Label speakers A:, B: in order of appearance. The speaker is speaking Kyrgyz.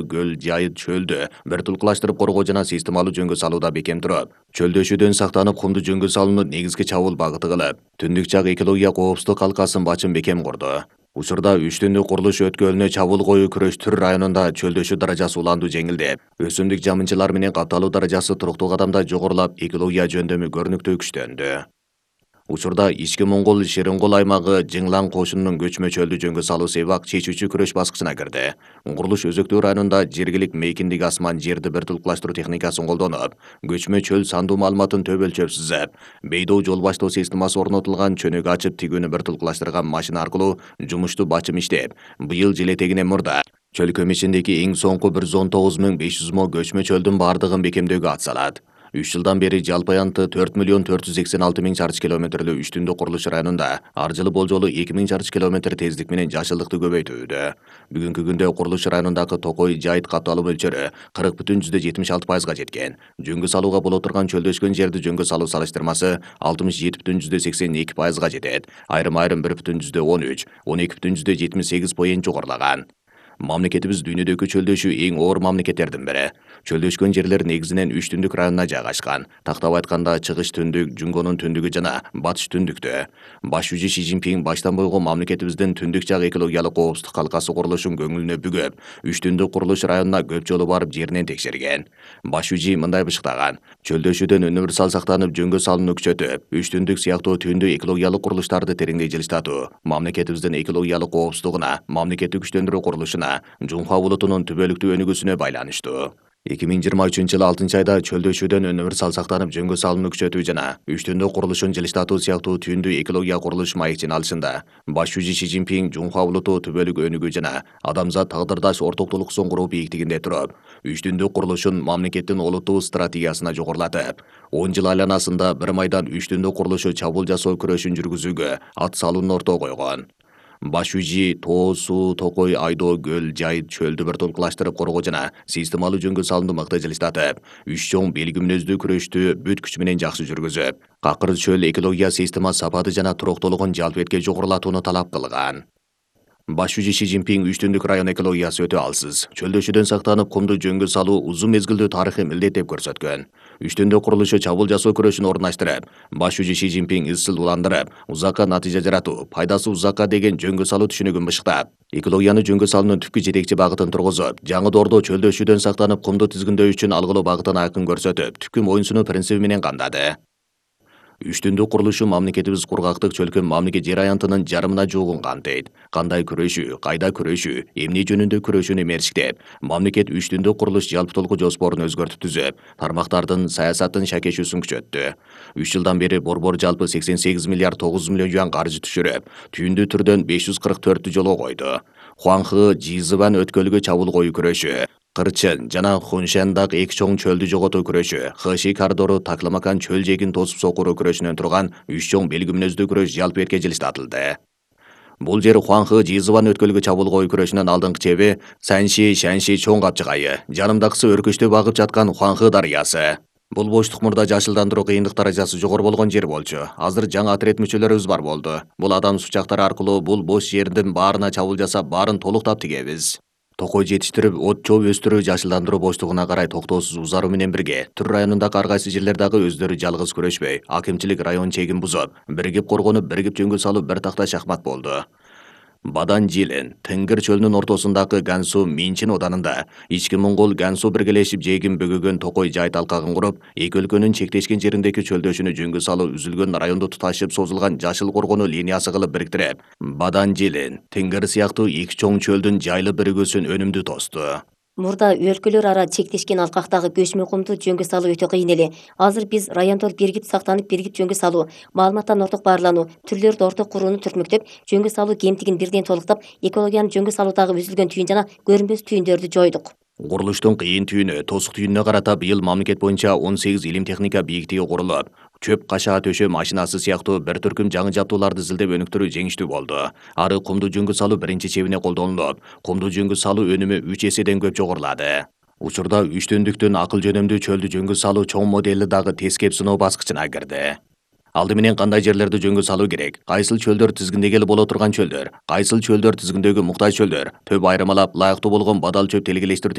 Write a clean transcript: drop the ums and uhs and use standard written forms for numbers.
A: көл, жайыт чөлдү вертикалдашырып коргоо жана системалуу жөнгө салууда бекем туруп, чөлдөшүүдөн сактанып кумду жөнгө салууну негизги чабуул багыты кылып, түндүк жак экология коопсуздук калкасын бачын бекем курду. Учурда 3 түндүк курулуш өткөлүнө чабуул коюу күрөш Түр районунда чөлдөшүү даражасы уланду жеңилдеп, өсүмдүк жамынчылар менен капталуу даражасы туруктуу кадамда жогорулап, экология жөндөмү көрүнүктүү күчтөндү. Учурда Ички Моңгол Шерингол аймагы Жыңлан кошунунун көчмө чөлдү жөнгө салуу себак чечүүчү күрөш баскычына кирди. Курулуш Өзөктүү районунда жергилик мейкиндик асман жерди вертикалдаштыруу техникасын колдонуп, көчмө чөл сандуу маалыматын төп өлчөп сүзөп, бейдоо жол баштоо системасы орнотулган чөнөк ачып тигүүнү вертикалдаштырган машина аркылуу жумушту бачым иштеп, быйыл жыл этегинен мурда чөл көмүчүндөгү эң соңку 119.500 мо көчмө чөлдүн бардыгын бекемдөөгө атсалат. 3 жылдан бери жалпы аянты 4.486.000 чарчы километрлүү 3 түндүк курулуш районунда ар жылы болжолу 2.000 чарчы километр тездик менен жашылдыкты көбөйтүүдө. Бүгүнкү күндө курулуш районундагы Токой жайыт катталуу мөлчөрү 40.76%га жеткен. Жөнгө салууга боло турган чөлдөшкөн жерди жөнгө салуу салыштырмасы 67.82%га жетет. Айрым 1.13, 12.78 поент жогорулаган. Мамлекетибиз дүйнөдөгү чөлдөшүү эң оор мамлекеттердин бири. Чөлдөшкөн жерлер негизинен 3 түндүк районуна жайгашкан. Тактап айтканда Чыгыш түндүк, Жунгонун түндүгү жана Батыш түндүктө. Баш жүзү Си Цзиньпин баштан бойгон мамлекетибиздин түндүк жак экологиялык коопсуздук калкасы курулушун көңүлүнө бүгөп, 3 түндүк курулуш районуна көп жолу барып жеринен текшерген. Баш жүзү мындай бышыктаган: чөлдөшүүдөн универсал сактанып, жөнгө салууну күчөтүп, 3 түндүк сыяктуу түндүк экологиялык курулуштарды тереңдей жылыштатуу мамлекетибиздин экологиялык коопсуздугуна, мамлекеттик күчтөндүрүү курулушуна, Жунхва булутунун түбөлүктүү өнүгүүсүнө байланыштуу. 2023 жылы 6-айда чөлдөшүүдөн универсал сактанып, жөнгө салууну күчөтүү жана 3 түндүк курулушун жылыштатуу сыяктуу түндүк экология курулуш маекчин алышында баш жүзү Си Цзиньпин Жунхва булуту түбөлүк өнүгүү жана адамзат тагдырдаш ортоктулуксун куруу бийиктигинде туруп, 3 түндүк курулушун мамлекеттин олуттуу стратегиясына жогорулатып, 10 жыл айланасында бир майдан 3 түндүк курулушу чабуул жасоо күрөшүн жүргүзүүгө ат салууну ортого койгон. Баш жүзү Тоо, Суу, Токой, Айдоо, Көл, Жайыт чөлдү вертикалдаштырып коргоо жана системалуу жөнгө салууну мыкты жылыштатып, 3 чоң белгимнөздүү күрөштү бүт күч менен жакшы жүргүзүп, какыр чөл экология система сапаты жана туруктуулугун жалпы этке жогорулатууну талап кылган. Баш жүзү Си Цзиньпин 3 түндүк район экологиясы өтө алсыз, чөлдөшүүдөн сактанып, кумду жөнгө салуу узун мезгилдүү тарыхый милдет деп көрсөткөн. 3 түндүк курулушу чабуул жасоо күрөшүн орундаштырып, баш жүзү Си Цзиньпин изчил уландырып, узакка натыйжа жаратуу, пайдасы узакка деген жөнгө салуу түшүнүгүн бышыктап, экологияны жөнгө салуунун түпкү жетекчи багытын тургузуп, жаңы доордо чөлдөшүүдөн сактанып, кумду тизгиндөө үчүн алгылуу багытын айкын көрсөтүп, түпкү моюнсунуу принциби менен камдады. 3 түндүк курулушу мамлекетибиз кургактык чөлкөм мамлекет жер аянтынын жарымына жуугун камтыйт. Кандай күрөшүү, кайда күрөшүү, эмне жөнүндө күрөшүүнү мерчиктеп, мамлекет 3 түндүк курулуш жалпы толку жоспорун өзгөртүп түзүп, тармактардын саясатын шакешүүсүн күчөттү. 3 жылдан бери борбор жалпы 88 миллиард 900 миллион юан каржы түшүрүп, түйүндү түрдөн 544 жолго койду. Хуанхэ, Жизыбан өткөлгө чабуул коюу күрөшү, Кырчын жана Хуншандагы эки чоң чөлдү жоготуу күрөшү, Хэши коридору Такламакан чөл жегин тосуп сокуруу күрөшүнөн турган 3 чоң белгимнөздүү күрөш жалпы эрке жылыштатылды. Бул жер Хуанхэ, Жизыбан өткөлгө чабуул коюу күрөшүнүн алдыңкы чеби Санши, Шанши чоң капчыгайы, жанымдагысы өркүчтүү багып жаткан Хуанхэ дарыясы. Бул боштук мурда жашылдандыруу кыйындык даражасы жогору болгон жер болчу. Азыр жаңы отряд мүчөлөрүбүз бар болду. Бул адам сучактары аркылуу бул бош жердин баарына чабуул жасап, баарын толуктап тигебиз. Токой жетиштирип, от чоп өстүрүү жашылдандыруу боштугуна карай токтоосуз узаруу менен бирге, Түр районундагы ар кайсы жерлер дагы өздөрү жалгыз күрөшпөй, акимчилик район чегин бузуп, биригип коргонуп, биригип жөнгө салуу бир такта шахмат болду. Бадан Жилин, Тынгыр чөлүнүн ортосундагы Гансу Минчин оданында Ички Моңгол Гансу биргелешип жегин бөгөгөн Токой жайыт алкагын куруп, эки өлкөнүн чектешкен жериндеги чөлдөшүүнү жөнгө салуу үзүлгөн районду туташып созулган жашыл коргонуу линиясы кылып бириктирип, Бадан Жилин, Тынгыр сыяктуу эки чоң чөлдүн жайлы биригүүсүн өнүмдүү тосту.
B: Мурда өлкөлөр ара чектешкен алкактагы көчмө кумду жөнгө салуу өтө кыйын эле. Азыр биз райондор биригип сактанып, биригип жөнгө салуу, маалыматтан орток баарлануу, түрлөрдү орток курууну түртмөктөп, жөнгө салуу кемтигин бирден толуктап, экологияны жөнгө салуудагы үзүлгөн түйүн жана көрүнбөс түйүндөрдү жойдук.
A: Курулуштун кыйын түйүнү, тосук түйүнүнө карата быйыл мамлекет боюнча 18 илим техника бийиктиги курулуп, чөп кашаа төшөө машинасы сыяктуу бир түркүм жаңы жабдууларды изилдеп өнүктүрүү жеңиштүү болду. Ары кумду жөнгө салуу биринчи чебине колдонулуп, кумду жөнгө салуу өнүмү 3 эседен көп жогорулады. Учурда 3 түндүктүн акыл жөнөмдүү чөлдү жөнгө салуу чоң модели дагы тескеп сыноо баскычына кирди. Алды менен кандай жерлерди жөнгө салуу керек, кайсыл чөлдөр тизгиндегеле боло турган чөлдөр, кайсыл чөлдөр тизгиндөөгө муктаж чөлдөр, төп айырмалап ылайыктуу болгон бадал чөп телгелештирүү